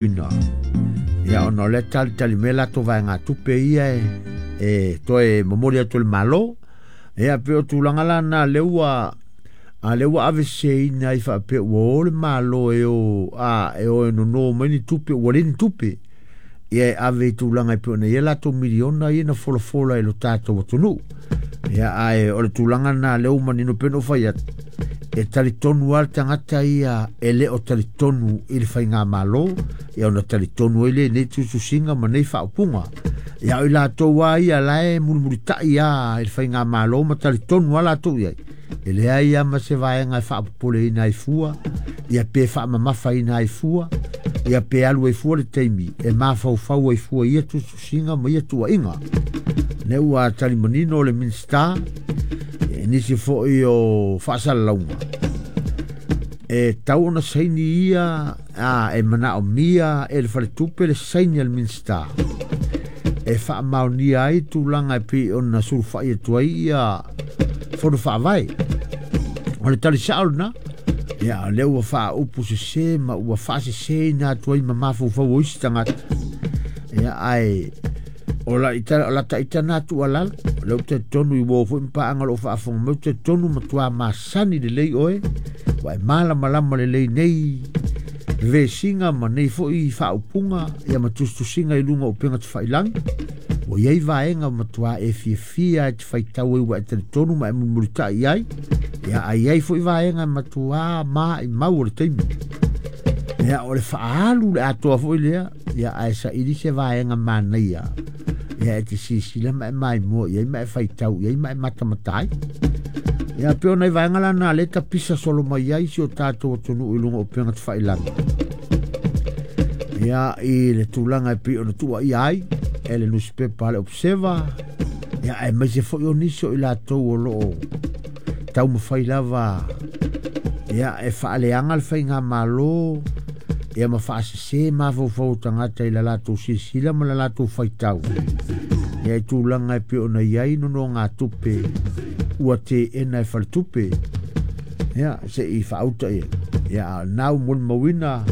Ina. Ia ona o lea talitali mai latou vaegatupe ia e toe momoli atu e le Malo. Ia pei o tulaga la na lea ua a lea ua aveseseina ai faapea ua o le Malo e o a e o e nono mai ni tupe ua leai ni tupe. Ia e ave i tulaga e pei ona i ai latou miliona ia na folafola i lo tatou atunuu. Ia ae o le tulaga lena lea ua manino pei ona ou fai atu, e talitonu lava le tagata ia e le o talitonu i le faigamalo, ia ona talitonu ai lea i nei tusitusiga ma nei faaupuga. Ia o i latou lava ia la e mulimulitai lava i le faigamalo ma talitonu lava latou i ai, e leai lava ma se vaega e faapopoleina ai fua, ia pe faamamafaina ai fua, ia pe alu ai fua le taimi e mafaufau ai fua i ia tusitusiga ma ia tuuaiga. Lea ua tali manino le Minisita i nisi foi o faasalalauga e tau ona saini ia a, e manaomia e le faletupe le saini a le Minisita e faamaonia ai tulaga e pei ona sulufai atu ai ia fono faavae. O le tali sao lena. Ia, o lea ua faaupu sese ma ua faaseseina atu ai ma mafaufau o isi tagata. Ia, ae o la ita, o la ta ita na tuualalo, o lea ou te talitonu i uo foi ma paaga o lo o faafofoga mai, ou te talitonu matua masani lelei oe, ua e malamalama lelei nei vesiga ma nei foi faaupuga ia ma tusitusiga i luga o upega tafailagi. Ua i ai vaega matua e fiafia e te faitau ai ua e talitonu ma e mulimulitai i ai. Ia, a i ai foi vaega matua maimau o le taimi. Ia, o le faaalu le atoa foi lea, ia, ae saili se vaega manaia. Ia, e te silasila ma e maimoa i ai ma e faitau i ai ma e matamata ai. Ia, pei o nai vaega la na lea e tapisa solo mai ai si o tatou atunuu i luga o upega tafailagi. Ia, i le tulaga e pei ona tuuaia ai e le nusipepa a le Observer, ia, aemaise foi o nisi o i latou o lo o taumafai lava ia e faaleaga le faigamalo ia ma faasese mafaufau o tagata i la latou silasila ma la latou faitau ia i tulaga e pei ona i ai nonogatupe ua teena e faletupe ia se i faauta ia ia a na ua molimauina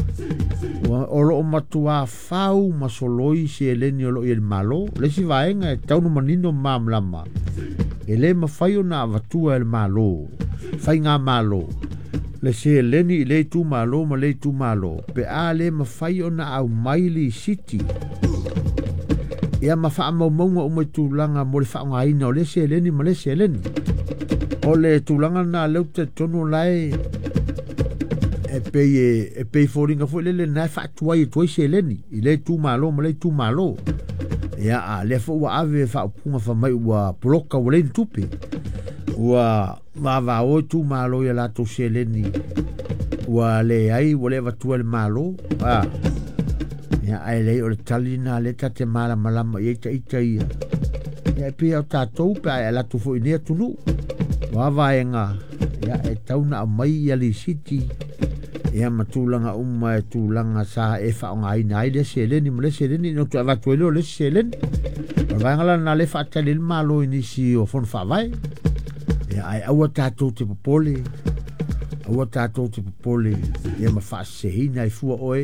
ua o lo o matua fau ma soloi seleni o lo o i ai le Malo. O le isi vaega e tatau ona manino ma malamalama, e le mafai ona avatua e le Malo, faigamalo, le seleni i lea itumalo ma lea itumalo pe a le mafai ona aumai lisiti ia ma faamaumauga uma i tulaga mo le faaaogaina o lea seleni ma lea seleni. O le tulaga lena lea ou te talitonu o la e e pei e pei foliga foi lele na e faatuai atu ai seleni i lea itumalo ma lea itumalo. Ia, a lea foi ua ave faaupuga fai mai ua poloka ua leai ni tupe. Ua vavao itumalo i a latou seleni ua leai, ua le avatua e le Malo. A, ia, ae leai o le tali lena lea ta te malamalama i ai ita ia. Ia, e pei o tatou pe a e alu atu foi i nei atunuu. O a vaega, ia, e tatau ona aumai ia lisiti ia ma tulaga uma e tulaga sa e faaaogaina ai lea seleni ma lea seleni ina toe avatu ai lea o le isi seleni. O le vaega la lena lea e faatali ai le Malo i nisi o fono faavae. Ia, ae aua tatou te popole, aua tatou te popole ia ma faaseseina ai fua oe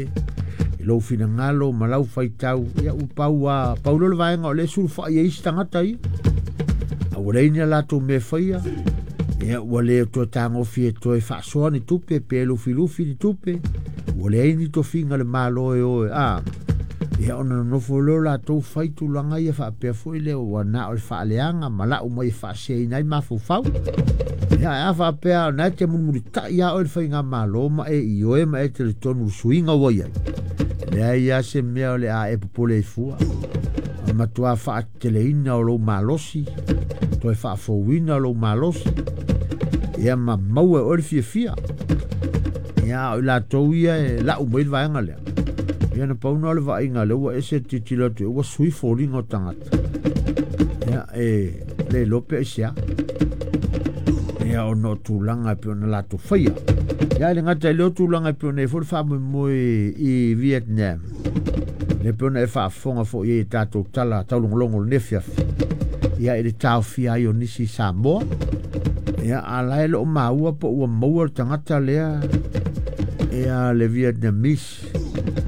i lou finagalo ma lau faitau. Ia, ua pau lava, pau lea o le vaega o lea e sulufai ai isi tagata ia. A ua leai ni a latou mea e faia, ia ua le toe tagofi e toe faasoa ni tupe pe lufilufi ni tupe, ua leai ni tofiga a le Malo e o e a. Ia ona nonofo lea o latou fai tulaga ia faapea foi lea ua na o le faaleaga ma lau mai e faaseseina ai mafaufau. Ia ae a faapea o na e te mulimulitai lava oe i le faigamalo ma e ioe ma e talitonu i le suiga ua i ai, e leai lava se mea o le a e popole ai fua. O le matua faateteleina o lou malosi, toe faafouina lou malosi, ia ma maua e oe le fiafia. Ia, a o i latou ia e lau mai le vaega lea, ia na pau na o le vaaiga lea ua ese le tilotilo atu, ua sui foliga o tagata. Ia, e le iloa pe aisea. Ia, ona o tulaga e pei ona latou faia. Ia, e le gata i lea o tulaga e pei ona i ai foi le faamoemoe i Vietnam. Lea pei ona e faafofoga foi i ai i tatou tala taulogologo o lenei afiafi. Ia, i le taofia ai o nisi i Samoa. Ia, a la e le o maua po ua maua le tagata lea, ia le Vietnamese.